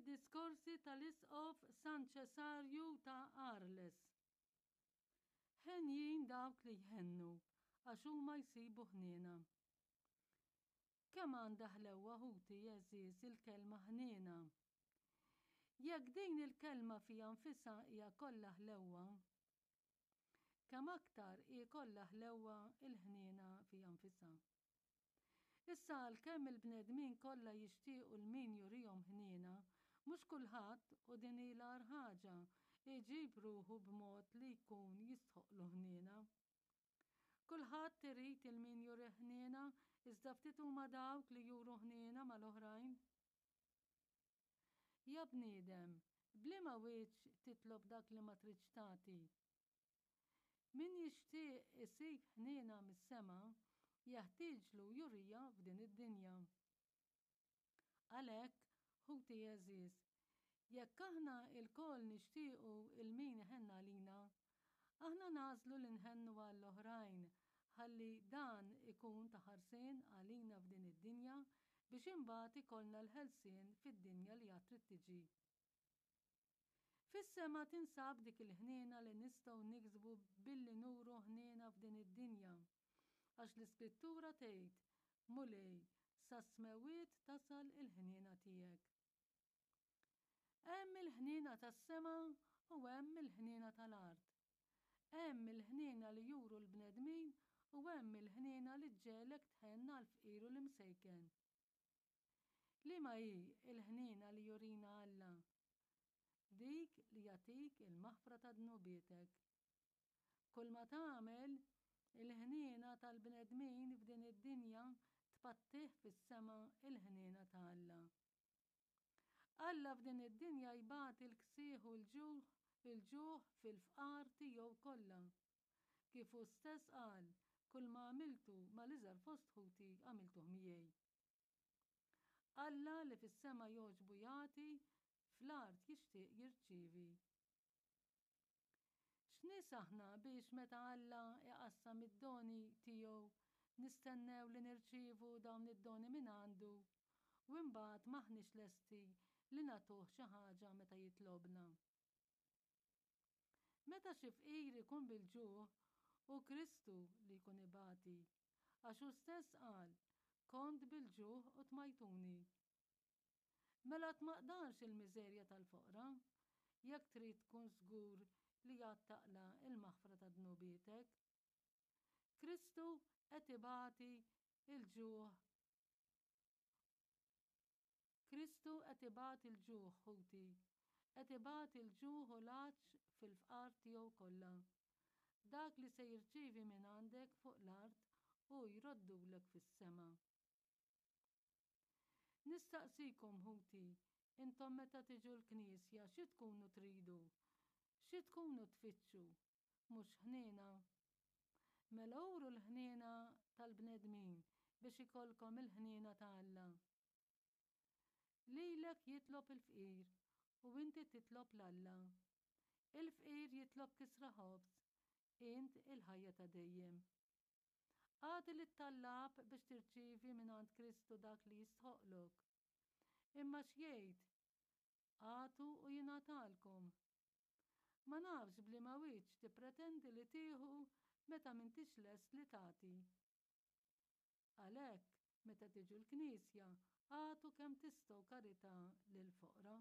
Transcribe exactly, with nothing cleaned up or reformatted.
Mid-diskorsi tal-Isqof San Ċesarju ta' Arles. Henjin dawk li jħennu, għax huma jsibu ħniena. Kemm għandha ħlewwa, ħuti għeżież, il-kelma ħniena. Jekk din il-kelma fiha nfisha hija kollha ħlewwa, kemm aktar hi kollha ħlewwa il-ħniena fiha nfisha. Issa għalkemm il-bnedmin kollha jixtiequ 'l min jurihom ħniena, mhux kulħadd, u din hi l-agħar ħaġa, iġib ruħu b'mod li jkun jistħoqqlu ħniena. Kulħadd irid 'il min jurih ħniena, iżda ftit huma dawk li juru ħniena mal-oħrajn. Ja bniedem, b'liema wiċċ titlob dak li ma tridx tagħti? Min jixtieq isib ħniena mis-sema, jeħtieġlu juriha f'din id-dinja. Għalhekk, ħuti għeżież, jekk aħna lkoll nixtiequ 'il min iħenn għalina, aħna nagħżlu li nħennu għall-oħrajn ħalli dan ikun ta' ħarsien għalina f'din id-dinja biex imbagħad ikollna l-ħelsien fid-dinja li għad trid tiġi. Fis-sema tinsab dik il-ħniena li nistgħu niksbu billi nuru ħniena f'din id-dinja. Għax l-Iskrittura tgħid, Mulej, sas-smewwiet tasal il-ħniena tiegħek. Hemm il-ħniena tas-sema u hemm il-ħniena tal-art. Hemm il-ħniena li juru l-bnedmin u hemm il-ħniena li ġġegħlek tħenn għall-fqir u l-imsejken. Liema hi l-ħniena li jurina Alla? Dik li jagħtik il-maħfra ta' dnubietek. Kull ma tagħmel, il-ħniena tal-bnedmin f'din id-dinja tpattih fis-sema il-ħniena ta' Alla. Alla f'din id-dinja jbati l-ksieħ u l-ġuħ il-ġuħ fil-fqar tiegħu kollha. Kif hu stess qal, kull ma għamiltu mal-iżgħar fost ħuti għamiltuh miegħi. Alla li fis-sema jogħġbu jagħti, fl-art jixtieq jirċievi. X'nies aħna biex meta Alla iqassam id-doni tiegħu nistennew li nirċievu dawn id-doni minn għandu u imbagħad m'aħniex lesti li nagħtuh xi ħaġa meta jitlobna. Meta xi fqir ikun bil-ġuħ, hu Kristu li jkun ibati, għax hu stess qal, kont bil-ġuħ u tmajtuni. Mela tmaqdarx il-miżerja tal-foqra, jekk trid tkun żgur li għad taqla' il-maħfra ta' dnubietek. Kristu qed ibati il-ġuħ Kristu qed ibati l-ġuħ, ħuti, qed ibati l-ġuħ u l-għatx fil-fqar tiegħu kollha. Dak li se jirċievi minn għandek fuq l-art hu jroddulek fis-sema. Nistaqsikom, ħuti, intom meta tiġu l-knisja xi tkunu tridu? Xi tkunu tfittxu? Mhux ħniena? Mela uru l-ħniena tal-bnedmin biex ikollkom il-ħniena ta' Alla. Lilek jitlob il-fqir u inti titlob 'l Alla. Il-fqir jitlob kisra ħobż, int il-ħajja ta' dejjem. Agħti lit-tallab biex tirċievi mingħand Kristu dak li jistħoqqlok. Imma x'jgħid? Agħtu u jingħatalkom. Ma nafx b'liema wiċċ tippretendi li tieħu meta m'intix lest li tagħti. Għalhekk, meta tiġu l-knisja, agħtu kemm tistgħu karità lill-foqra.